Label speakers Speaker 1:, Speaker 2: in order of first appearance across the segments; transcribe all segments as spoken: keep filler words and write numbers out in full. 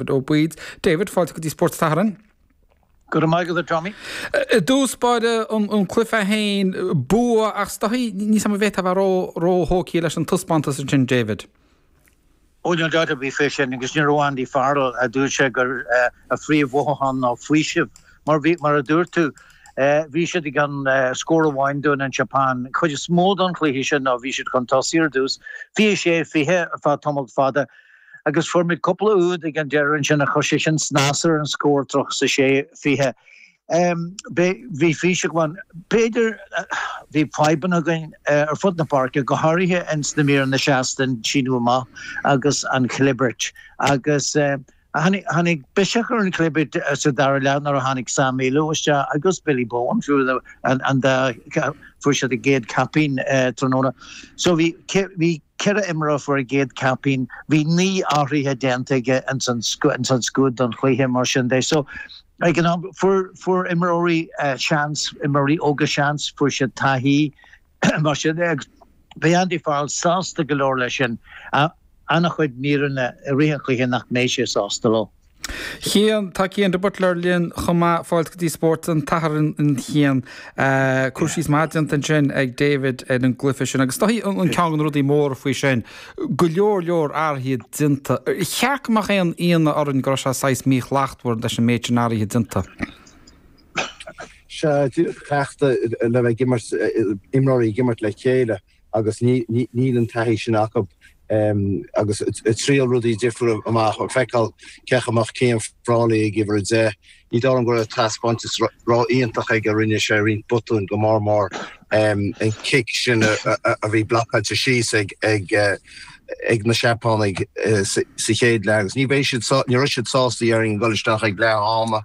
Speaker 1: Ó Baoid. David, fáilte go dtí Spórt an tSathairn.
Speaker 2: Go raibh maith agat, Tommy.
Speaker 1: I dtús báire, an cluiche féin, bua, ach is dóichí níl a fhios agam an bhféadfá a bheith róthógtha leis an taispeántas ansin, David.
Speaker 2: Ó, níl dabht ar bith fé sin, agus ní raibh Andy Farrell, a dúirt sé gur a phríomh-mhothúchán ná faoiseamh, mar bhí, mar a dúirt tú, bhí siad i gcionn scór amháin dúinn, an tSeapáin. Chuid is mó don chluiche sin ná bhí siad chun tosaigh ar dtús, fiche sé fiche ar feadh tamall fada, agus fuair muid cúpla úd ag an deireadh ansin a chuir sé sin snas ar an scór, tríocha a sé fiche. Bhí faoiseamh ann. B'fhéidir bhí fadhbanna againn ar fud na páirce, go háirithe ins na míreanna seasta, an síneadh amach agus an chlibirt. Agus tháinig biseach ar an chlibirt sa dara leath nuair a tháinig Sam Illo isteach agus Billy Bowen, fiú an dá fuair siad a gcéad caipín tráthnóna. So bhí bhí ceithre imreoir a fuair a gcéad caipín, bhí naoi athruithe déanta aige ins an scuad don chluiche, mar sin de. So ag an am fuair fuair imreoirí seans, imreoirí óga seans, fuair siad taithí, mar sin de, agus beidh Andy Farrell sásta go leor leis sin. An-chuid míreanna i rith an chluiche nach mbeidh sé sásta leo.
Speaker 1: Cian, tá Cian de Buitléar linn chomh maith, fáilte go dtí Spórt an tSathairn a Chian. Cur síos maith déanta ansin ag David ar an gcluiche sin agus is dóichí an ceann de na rudaí móra faoi sin, go leor leor athruithe déanta. Ar cheart go mbeadh aon ionadh orainn go raibh sé saghas míshlachtmhar leis an méid sin athruithe déanta?
Speaker 3: Sea, cleachtadh le bheith ag imirt, imreoirí ag imirt le chéile agus níl an taithí sin acu agus ag triail rudaí difriúla amach, ag feiceáil cé chaoi a mbeadh Cian Frawley ag uimhir a deich. Ní dóigh liom go raibh taispeántas ró-iontach aige, rinne sé roinnt botúin go mór mór an cic sin a bhí blocáilte síos ag ag na Seapánaigh sa chéad leath agus ní bheidh siad, ní raibh siad sásta déarfainn ag dul isteach ag leath ama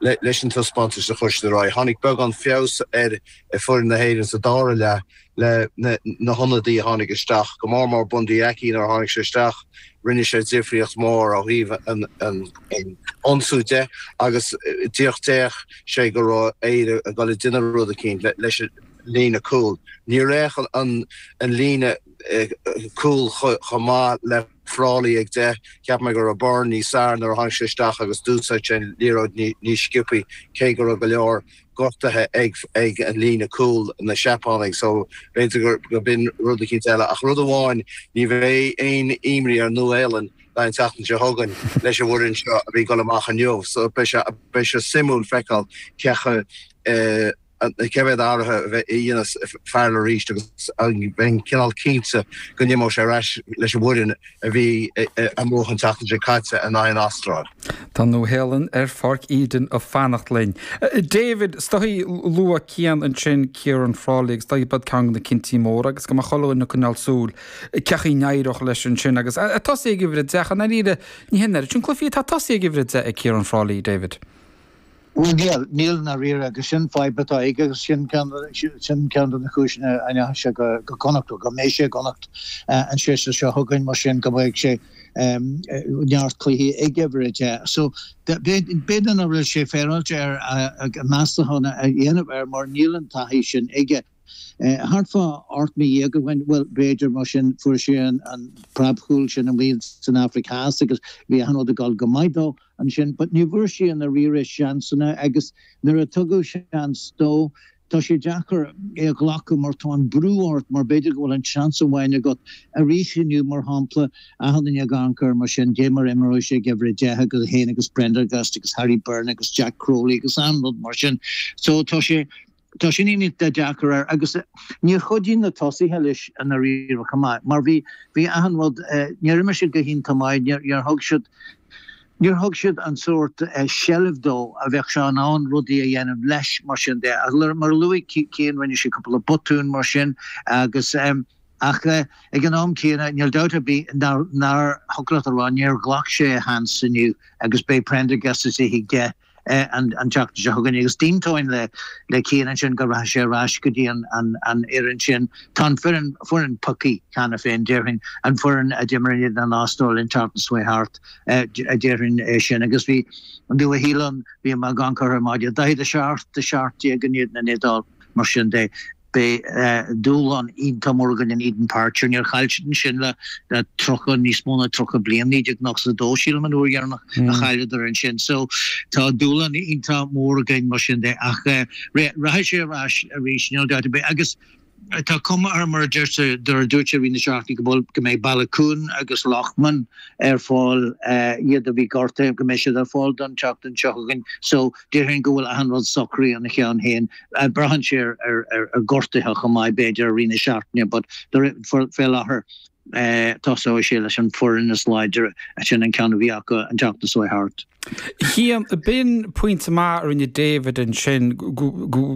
Speaker 3: leis an taispeántas a chuir siad ar aghaidh. Tháinig beagán feabhas ar foireann na hÉireann sa dara leath le na hionadaí a tháinig isteach, go mór mór Bundee Aki nuair a tháinig sé isteach, rinne sé difríocht mhór ó thaobh an ionsú de agus díreach d'fhéach sé go raibh Éire ag dul ag déanamh rud eicínt leis an líne cúil. Níor fhéach an líne cúil chomh maith le Frawley ag deich. Cheap mé go raibh Byrne níos fearr nuair a tháinig sé isteach agus d'úsáid sé an liathróid níos sciobthaí cé go raibh go leor gortaithe ag ag an líne cúil na Seapánaigh so b'fhéidir gur b'in rud eicínt eile. Ach rud amháin, ní bheidh aon imní ar Nua-Shéalainn an tseachtain seo chugainn leis an bhfoireann seo a bhí ag dul amach inniu so beidh sé beidh sé suimiúil feiceáil cé chomh cé mhéad athruithe a bheidh a dhéanas Farrell arís agus bheinn cineál cinnte go n-imeoidh sé ar ais leis an bhfoireann a bhí amuigh an tseachtain seo caite in aghaidh an Astráil.
Speaker 1: Tá Nua-Shéalainn ar Pháirc Eden ag fanacht linn. David, is dóichí luaigh Cian ansin Ciaran Frawley agus is dóichí b'iad ceann de na cinntí móra agus go mbeadh chuile dhuine ag coinneáil súil cén chaoi a n-éireodh leis ansin agus ag tosaí ag uimhir a deich i ndáiríre ní hin oiread sin cluichí atá tosaí ag uimhir a deich ag Ciaran Frawley, David.
Speaker 2: Bhuel níl, níl i ndáiríre agus sin fadhb atá aige agus sin ceann sin ceann de na cúiseanna a ndeachaigh sé go go Connacht, go mbeidh sé i gConnacht an séasúr seo chugainn mar sin go mbeidh sé neart cluichí ag uimhir a deich. So b'fhéidir nach bhfuil sé féaráilte air meastachán a dhéanamh air mar níl an taithí sin aige. Thart fá ocht mí dhéag ó shin, bhuel b'fhéidir mar sin, fuair sé an preabchúl sin amuigh san Afraic Theas agus bhí achan rud ag dul go maith dó ansin but ní bhfuair sé i ndáiríre seansanna agus nuair a tugadh seans dó tá sé deacair é a ghlacadh mar tá an brú ort mar b'fhéidir go bhfuil an seans amháin agat arís inniu mar shampla achan duine ag amharc air mar sin dé mar imreoidh sé ag uimhir a deich agus é féin agus Prendergast agus Harry Byrne agus Jack Crowley agus an rud mar sin so tá sé Tá sin iontach deacair air agus níor chuidigh na tosaithe leis i ndáiríre chomh maith mar bhí bhí achan rud, níor imir siad go hiontach maith, níor níor thug siad níor thug siad an sórt seilbh dó a bheadh sé in ann rudaí a dhéanamh leis mar sin de. Mar a luaigh Cian rinne sé cúpla botún mar sin agus ach ag an am céanna níl dabht ar bith nár nár thiocfadh leat a rá níor ghlac sé a sheans inniu agus beidh Prendergast istigh ag deich an tseachtain seo chugainn agus d'aontóinn le le Cian ansin go rachaidh sé ar ais go dtí an an an fhoireann sin. Tá an foireann foireann pioctha cheana féin déarfainn, an foireann a d'imir in éadan an Astráil an tseachtain seo thart déarfainn é sin agus bhí an Nua-Shéalainn, bhí mé ag amharc orthu ar maidin, daichead a seacht a seacht déag in éadan an Iodáil mar sin de. Beidh dúshlán iontach mór againn in Eden Park. Sure níor chaill siad ansin le le tríocha, níos mó ná tríocha bliain, naoi déag nócha a dó sílim an uair dheireanach a chailleadar ansin. So tá dúshlán iontach mór againn mar sin de ach rachaidh sé ar ais arís, níl dabht ar bith. Agus tá cuma air mar a deir a dúirt sé i rith na seachtaine go bhfuil go mbeidh Baloucoune agus Loughman ar fáil iad a bhí gortaithe go mbeidh siad ar fáil don tseachtain seo chugainn so déarfainn go bhfuil achan rud socraithe ina cheann féin. Braitheann sé ar ar ar gortuithe chomh maith b'fhéidir i rith na seachtaine but fé láthair tosóidh sé leis an foireann is láidre sin an ceann a bhí acu an tseachtain seo thart.
Speaker 1: Cian, b'in pointe maith a rinne David ansin go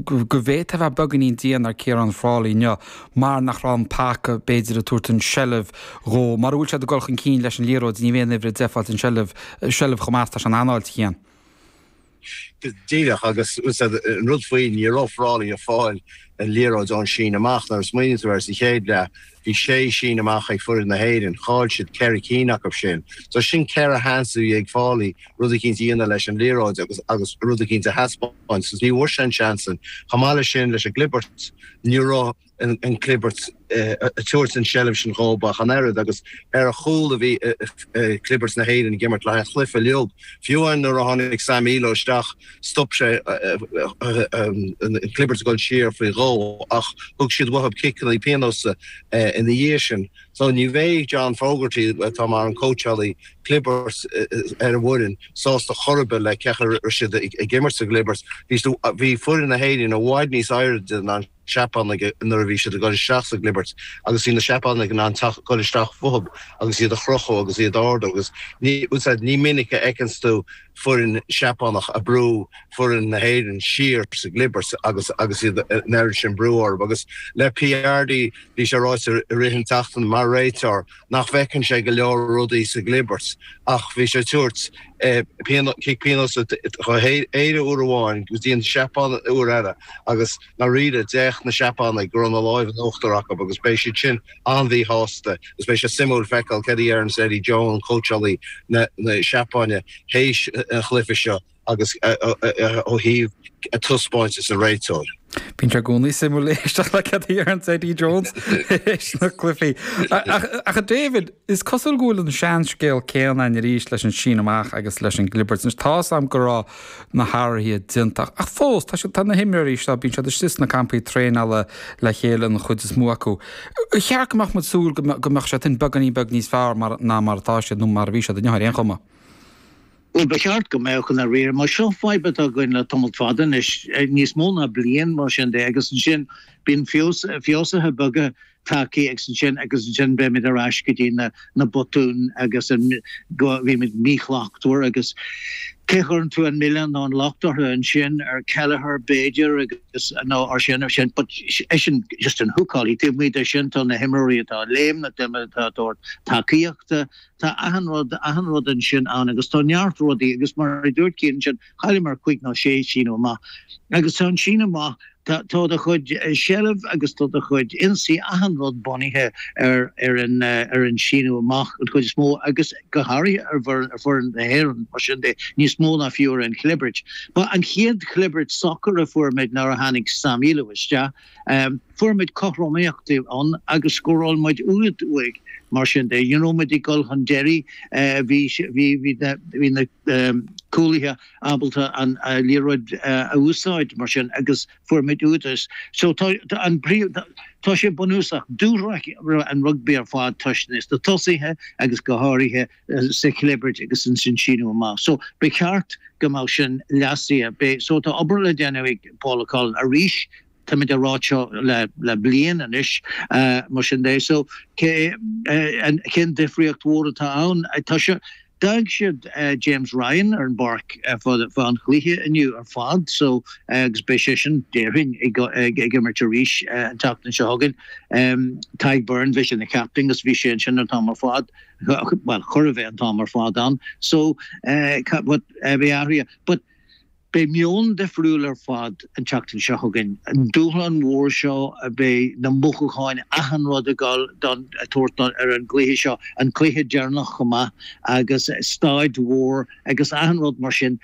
Speaker 1: bhféadfadh a bheith beagáinín dian ar Ciarán Frawley inniu mar nach raibh an paca b'fhéidir ag tabhairt an seilbh dhó. Mura bhfuil siad ag dul chun cinn leis an liathróid ní bheidh an uimhir a deich ag fáilt an seilbh seilbh chomh maith is tá sé in anáil, a Chian.
Speaker 3: Go díreach agus an rud faoi ní raibh Frawley ag fáil an liathróid ón síneadh amach. Nuair a smaoiníonn tú air sa chéad leath, bhí sé síneadh amach ag foireann na hÉireann, chaill siad ceithre cinn acu sin. So sin ceithre sheans a bhí ag Frawley rud eicínt a dhéanamh leis an liathróid agus agus rud eicínt a thaispeáint. So ní bhfuair sé an seans sin. Chomh maith leis sin, leis an gclibirt, ní raibh an clibirt ag tabhairt an tseilbh sin dhóibh ach an oiread agus ar a chúl a bhí clibirt na hÉireann ag imirt le haghaidh an chluiche uilig. Fiú amháin nuair a tháinig Sam Illo isteach stop sé an clibirt ag dul siar faoi dhó ach thug siad uathu ciceanna pionóis ina dhiaidh sin. So ní bheidh John Fogarty, atá mar an cóitseálaí clibirt ar an bhfoireann, sásta chor ar bith le cén chaoi a raibh siad ag imirt sa gclibirt. Bhí foireann na hÉireann i bhfad níos airde ná an Seapánaigh nuair a bhí siad ag dul isteach sa gclibirt agus bhí na Seapánaigh in ann teacht dul isteach fúthu agus iad a chrochadh agus iad a ardú agus ní ní minic a fheiceanns tú foireann Seapánach ag brú foireann na hÉireann siar sa gclibirt agus agus iad an oiread sin brú orthu agus le Piardi bhí sé ráite i rith an tseachtain mar réiteoir nach bhfeiceann sé go leor rudaí sa gclibirt ach bhí sé ag tabhairt cic pionóis do Éire uair amháin go dtí an Seapáin uair eile agus ndáiríre d'fhéach na Seapánaigh go raibh na lámha in uachtar acu agus beidh siad sin an-mhíshásta agus beidh sé suimiúil feiceáil céard a deireanns Eddie Jones, cóitseálaí na Seapáine, théis an chluiche seo agus ó thaobh a taispeántas an réiteoir.
Speaker 1: Bíonn sé i gcónaí suimiúil éisteacht le céard a deireanns Eddie Jones théis na cluichí. Ach a David, is cosúil go bhfuil an seanscéal céanna ann arís leis an síneadh amach agus leis an gclibirt. Anois tá's a'm go raibh na hathruithe déanta ach fós tá siad, tá na himreoirí seo, bíonn siad istigh sna campaí traenála le chéile an chuid is mó acu. Ar cheart go mbeadh muid súil go mbeadh siad sin beagáinín beag níos fearr mar ná mar atá siad nó mar a bhí siad inniu ar aon chuma?
Speaker 2: Bhuel, ba cheart go mbeadh i ndáiríre, mar seo fadhb atá againn le tamall fada anois, níos mó ná bliain mar sin de, agus ansin bíonn feabhsuithe beaga tagtha agus ansin agus ansin beimid ar ais go dtí na na botúin agus an go bhímid míshlachtmhar agus cé a chuireann tú an milleán nó an locht orthu ansin ar Kelleher b'fhéidir agus nó ar sin ar sin but é sin just an húcálaí taobh amuigh de sin tá na himreoirí atá ag léim na daoine atá ag tabhairt tacaíochta Tá achan rud, achan rud ansin ann agus tá neart rudaí agus mar a dúirt Cian ansin, chailleamar cúig nó sé síneadh amach agus tá an síneadh amach, tá, tá do chuid seilbh agus tá do chuid ionsaí, achan rud bunaithe ar, ar an, ar an síneadh amach an chuid is mó agus go háirithe ar bhfoireann, ar foireann na hÉireann mar sin de, níos mó ná fiú ar an chlibirt. Ba an chéad chlibirt socair a fuair muid nuair a tháinig Sam Illo isteach. Fuair muid cothromaíocht ann agus scóráil muid úd uaidh mar sin de. Ní raibh muid ag dul chun deiridh, bhí bhí bhí na cúlaithe ábalta an liathróid a úsáid mar sin agus fuair muid úd. So tá an tá sé bunúsach. Dúshraith an rugbaí ar fad toisc na tosaithe agus go háirithe sa chlibirt agus ansin síneadh amach. So ba cheart go mbeadh sin leasaithe. So tá obair le déanamh ag Paul O'Connell arís Táimid á rá seo le bliain anois, mar sin de. So, cén difríocht mhór atá ann? Tá sé, d'fhág siad James Ryan ar an bpáirc fá an chluiche inniu ar fad, so, agus beidh seisean, déarfainn, ag imirt arís an tseachtain seo chugainn. Tadhg Beirne, bhí sé ina chaptaen agus bhí sé ansin an t-am ar fad, bhuel, chóir a bheith an t-am ar fad ann. So, but, bhí athruithe. But, Beidh meon difriúil ar fad an tseachtain seo chugainn. An dúshlán mhór seo, beidh na mothúcháin, achan rud ag dul don tabhairt ar an gcluiche seo, an cluiche deireanach chomh maith agus staid mhór agus achan rud mar sin.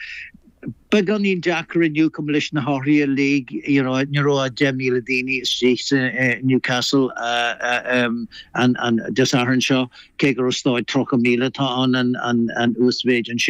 Speaker 2: Beagáinín deacair inniu chomh leis na hathruithe uilig you know, ní raibh deich míle daoine istigh sa eh, Newcastle uh, uh, um, an, an Dé Sathairn seo cé go raibh staid tríocha míle tá an an, an, an uasmhéid ansin.